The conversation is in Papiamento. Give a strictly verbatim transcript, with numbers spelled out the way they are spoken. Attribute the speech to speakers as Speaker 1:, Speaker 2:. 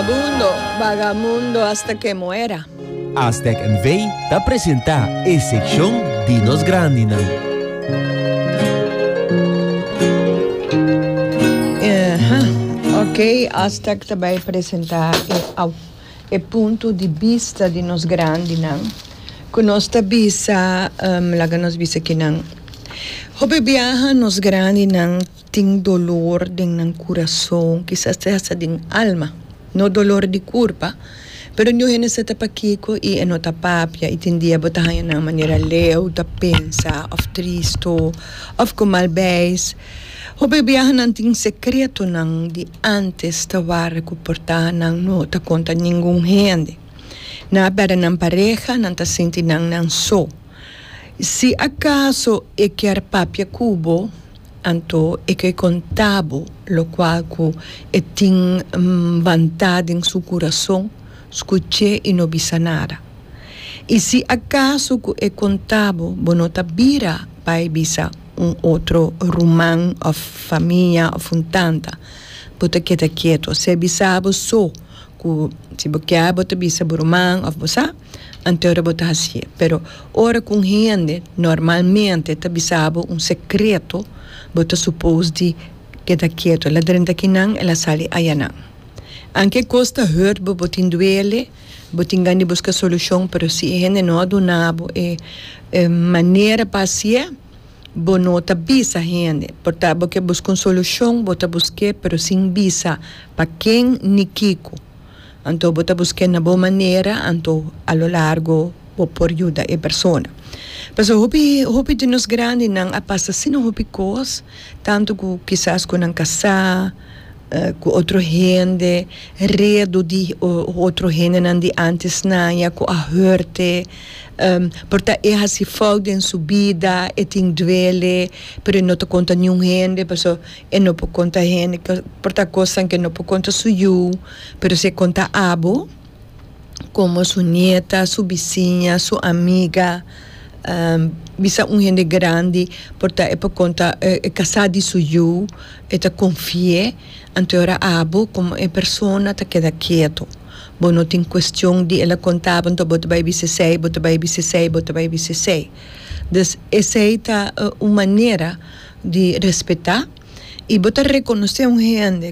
Speaker 1: Vagabundo, vagamundo hasta que muera.
Speaker 2: Astec N V ta presentá e sekshon di nos grandinan.
Speaker 1: Aha, ok, Astec ta bai presentá e, au, e punto di bista di nos grandinan. Ku nos ta bisa, um, laga nos bisa kinan. Hopi biaha nos grandinan tin dolor den nan kurason, kisas te hasta den alma. No dolor di kurpa, pero niun hende sa ta pakiko i e no ta papia i tin dia bo ta haña nan manera leu ta pensa òf tristu òf ku mal beis. Hopi biaha nan tin sekretonan di ántes ta wara ku por ta nan no ta konta ningun hende. Nan a pèrdè nan pareha, nan ta sinti nan nan so. Si akaso e kier papia ku bo, anto e ke konta bo lokual ku e tin bantá den su kurason, skuch'é i no bisa nada. I si akaso ku e konta bo, bo no ta bira bai bisa un otro ruman òf famia òf un tanta. Bo ta keda ketu. Si e bisa bo so ku si bo kier bo ta bisa bo ruman òf bo sa, anto ora bo ta hasié. Pero ora ku un hende normalmente ta bisa bo un sekreto, bo ta supos di keda ketu. El a drenta kinan, el a sali ayanan. Anke kos ta hurt bo, bo tin duele, bo tin gana di buska solushon, pero si e hende no a duna bo e manera pa hasié, bo no ta bisa hende. Por ta bo ke buska un solushon, bo ta busk'é, pero sin bisa pa ken ni kiko. Anto bo ta busk'é na bo manera, anto a lo largo bo por yuda e persona. Pasobra hopi hopi di nos grandinan a pasa asina hopi kos, tantu ku kisas ku nan kasá, ku otro hende, redu di otro hendenan di antes naña ku a hurt'e, por ta e hasi fout den su bida, e tin duele, pero e no ta konta niun hende pasobra e no por konta hende, por ta kosnan ku e no por konta su yu, pero si e konta abo komo su nieta, su bisiña, su amiga, bisa un hende grandi, por ta e por konta e kasá di su yu, e ta konfi'é, anto e ora abo komo e persona ta keda ketu. Bo no tin kuestion di el a konta bo, anto bo ta bai bisa esei, bo ta bai bisa esei, bo ta bai bisa esei. Dus esei ta un manera di respetá i bo ta rekonosé un hende.